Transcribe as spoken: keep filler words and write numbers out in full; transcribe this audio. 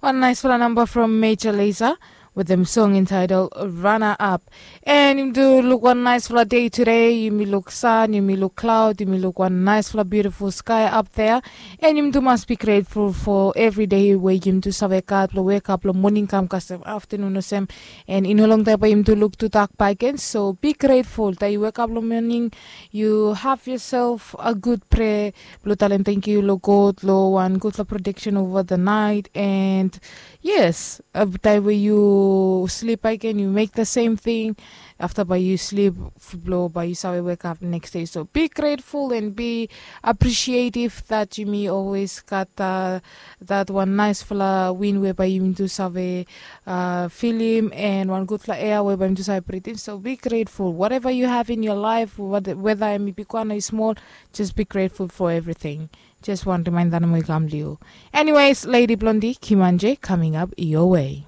Wan naispela namba from Major Lazer with them song entitled Runner Up. And yumi do look one nice fla day today. Yumi look sun, yumi look cloud, yumi look one nice fla beautiful sky up there. And yumi do must be grateful for every day where yumi do save gat lo wake up lo morning kam kasem afternoon osem. And in a long time yumi do look to dark by again. So be grateful that you wake up lo morning, you have yourself a good prayer. Blo talem thank you lo God lo one good protection over the night. And yes, uh, time where you sleep again, you make the same thing. After by you sleep, blo by you save wake up next day. So be grateful and be appreciative that you may always got uh, that one nice fla win whereby you do save uh, feel him and one good fla air whereby you do save breathe in. So be grateful whatever you have in your life, whether I'm big one or small, just be grateful for everything. Just one reminder mo i kam liu. Anyways, Lady Blondie, Kimanje coming up your way.